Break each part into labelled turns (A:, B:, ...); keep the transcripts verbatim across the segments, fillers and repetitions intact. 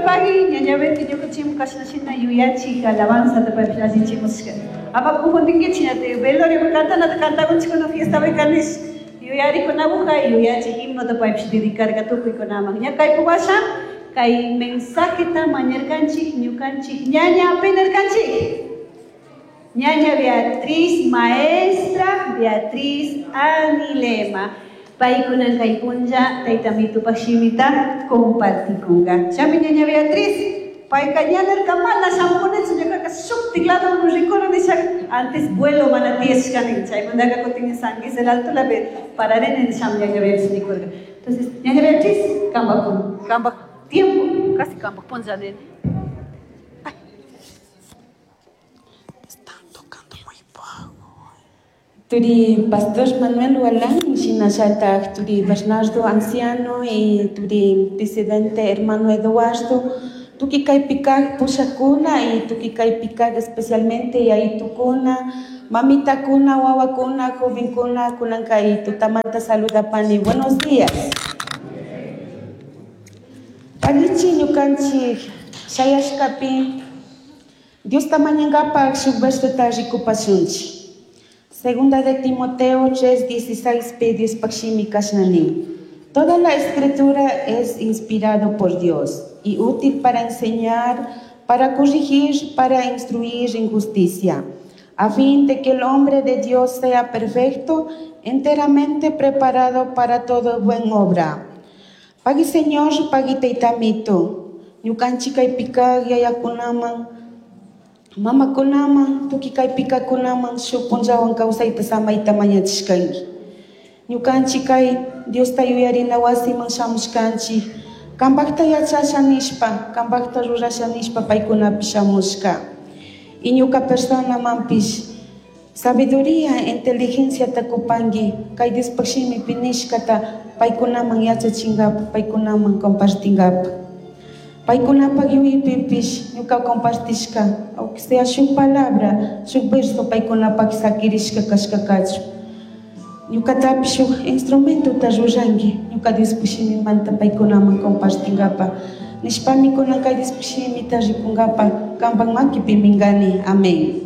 A: Pagi, ñaña Betty, ñukanchik kashna yuyachik alabanza paypish allichimushka. Ama confundinkichik ña velorio cantanata cantakunchik fiesta kanish yuyarikunapuja yuyachik himnota paypish dedicarka tukuykunaman. Ña kaypuk washa kay mensajeta mañarkanchik ñukanchik ñaña apinarkanchik. Ñaña Beatriz, maestra Beatriz Anilema. Paykunan kay punlla tayta mitupak shimita compartikunga. Chami ñaña Beatriz, payka ñanarka mana shamukunichu ñuqaqa shuktik ladoman rikuni nisha antes vuelo mana tiyashkani chaymantaka kutin San Luis del Alto lapi pararini nishami ñaña Beatriz nikurka. Entonces, ñaña Beatriz, kampak kampak tiempo, casi kampak punlla nini.
B: Están tocando muy bajo. Turi Pastor Manuel Hualán, shinallatak turi Bernardo Anciano y turi Presidente Hermano Eduardo, tukuy kaypi kak pushakuna y tukuy kaypi kak especialmente yayitukuna, mamitakuna, wawakuna, jovenkuna, kunan kay tutamanta saludapani. Buenos días. Allichi ñukanchik shayashkapi Diosta mañankapak shuk versota rikupashunchik. Segunda de Timoteo tres dieciséis pi Diospak shimi kashna nin. Toda la escritura es inspirado por Dios y útil para enseñar, para corregir, para instruir en justicia, a fin de que el hombre de Dios sea perfecto, enteramente preparado para toda buena obra. Pagui Señor, pagui taytamito, ñukanchik kaypi kak yayakunaman, mamakunaman, tukuy kaypi kakunaman shuk punllawan kawsayta samayta mañachishkanki. Ñukanchik kay Diosta yuyarina wasiman shamushkanchik, kampakta yachasha nishpa, kampakta rurasha nishpa paykunapish shamushka. Y ñuka personamanpish sabiduría, inteligenciata kupanki, kay Diospak shimipi nishkata paykunaman yachachinkapak, paykunaman compartinkapak. Paykunapak yuyaypipish ñuka compartishka, aunque sea shuk palabra, shuk verso paykunapak sakirishka kashkakachu. Ñukatapish shuk instrumentota ruranki, ñuka Diospak shimimanta paykunaman compartinkapak. Nishpami kunan kay Diospak shimita rikunkapak kampak makipi minkani. Amén.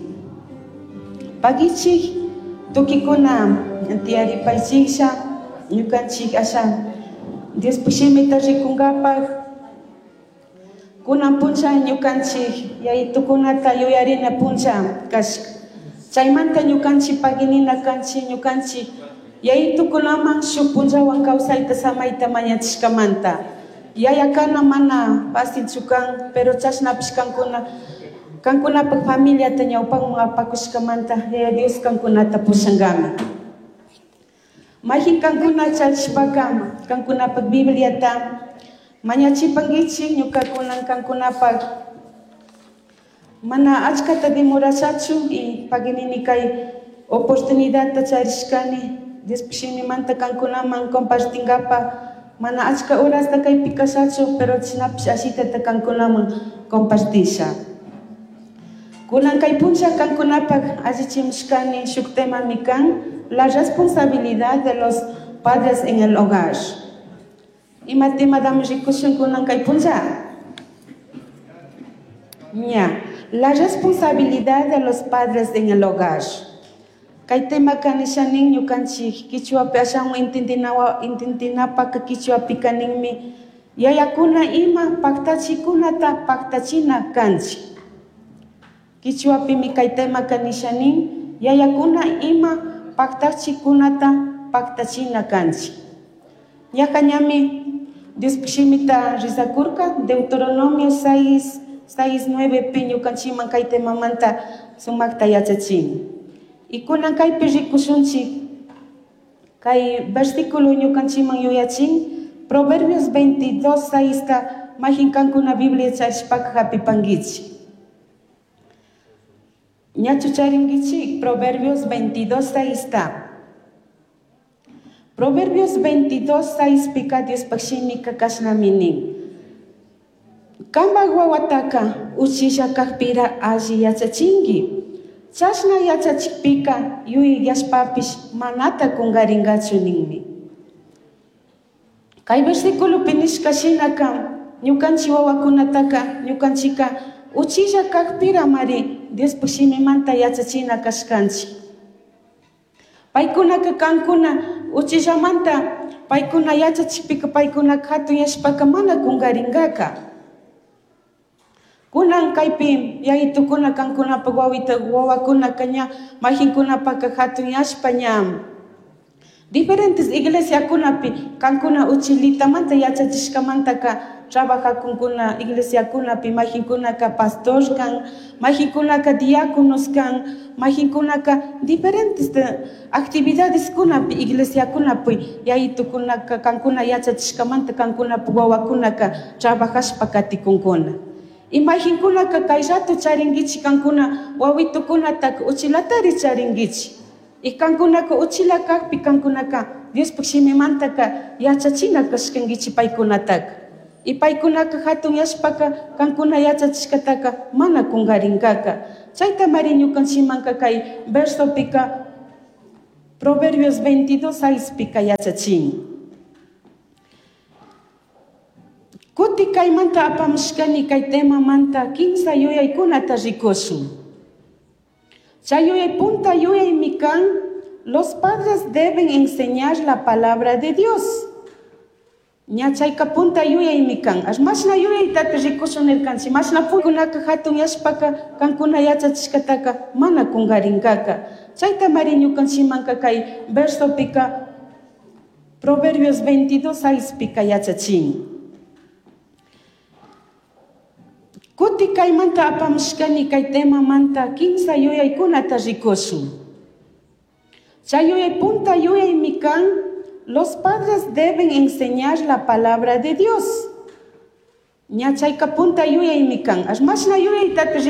B: Pagichik tukikuna tiyaripaychiklla ñukanchik asha Diospak shimita rikunkapak. Kunan punlla ñukanchik yayitukunata yuyarina punlla kashka. Chaymanta ñukanchik paginina kanchik ñukanchik yayitukunaman shuk punllawan kawsayta samayta mañachishkamanta. Yayakana mana fácilchu kan, pero chashnapish kankuna kankunapak familiata ñawpaman apakushkamanta Yaya Dios kankunata pushankami. Mayjin kankuna charishpaka kankunapak Bibliata mañachipankichik ñuka kunan kankunapak mana achkata demorashachu y paginini kay oportunidadta charishkani Diospak shimimanta kankunaman compartinkapak mana achka horasta kaypi kashachu, pero chashnapish ashitata kankunaman compartisha. Kunan kay punlla kankunapak allichimushkani shuk temami kan la responsabilidad de los padres en el hogar. Ima tematami rikushun kunan kay punlla? Ña, la responsabilidad de los padres en el hogar. Kay tema kanishanin ñukanchik kichwapi ashawan intindinawa intindinapak kichwapi kaninmi yayakuna ima paktachikunata paktachina kanchik. Kichwapimi kay tema kanishanin yayakuna ima paktachikunata paktachina kanchik. Ñaqa ñami Diospak shimita rizakurka Deuteronomio seis, seis, nueve pi ñukanchikman kay temamanta sumakta yachachin. Y kunan kaypi rikushunchik kay versículo ñukanchikman yuyachin Proverbios veintidós, seis ta mayjin kankuna Biblia charishpaka hapipankichik. Ñachu charinkichik Proverbios veintidós, seis ta. Proverbios veintidós, seis pika Diospak shimika kashnami nin. Kampak wawataka uchilla kakpira alli yachachinki. Chashna yachachikpika yuyayashpapish manata kunkarinkachu ninmi. Kay versículopi nishka shinaka Ñukanchik wawakunataka ñukanchika uchilla kakpiramari Diospuk shimimanta yachachina kashkanchik. Paykunaka kankuna uchillamanta paykuna yachachikpika paykunaka hatunyashpaka mana kunkarinkaka. Kunan kaypi yayitukuna kankunapak wawita wawakunaka ña majinkunapaka hatunyashpa ña diferentes iglesiakunapi kankuna uchilitamanta yachachishkamantaka trabajakunkuna iglesiakunapi majinkunaka pastor kan, majinkunaka diáconos kan, majinkunaka diferentes actividadeskunapi iglesiakunapi yayitukunaka kankuna yachachishkamanta kankunapak wawakunaka trabajashpa katikunkuna. Y majinkunaka kay rato charinkichik kankuna wawitukunataka uchilatari charinkichik. Y kankunaka uchila kakpi kankunaka Diospuk shimimantaka yachachina kashkankichik paykunataka. Y paykunaka hatunyashpaka kankuna yachachishkataka mana kunkarinkaka. Chaytamari ñukanchikmanka kay versopika Proverbios veintidós seispika yachachin. Kuti kaymanta apamushkani kay temamanta kimsa yuyaykunata rikushun. Chay yuyay punta yuyaymi kan, los padres deben enseñar la palabra de Dios. Ña chayka punta yuyaymi kan. Ash mashna yuyaytata rikushun nirkanchik, mashna punkunaka hatunyashpaka kankuna yachachishkataka mana kunkarinkaka. Chaytamari ñukanchikmanka kay versopika Proverbios veintidós seispika yachachin. Kuti kaymanta apamushkani kay temamanta kimsa yuyaykunata rikushun. Chay yuyay punta yuyaymi kan, los padres deben enseñar la palabra de Dios. Ña chayka punta yuyaymi kan. Ash mashna yuyaytata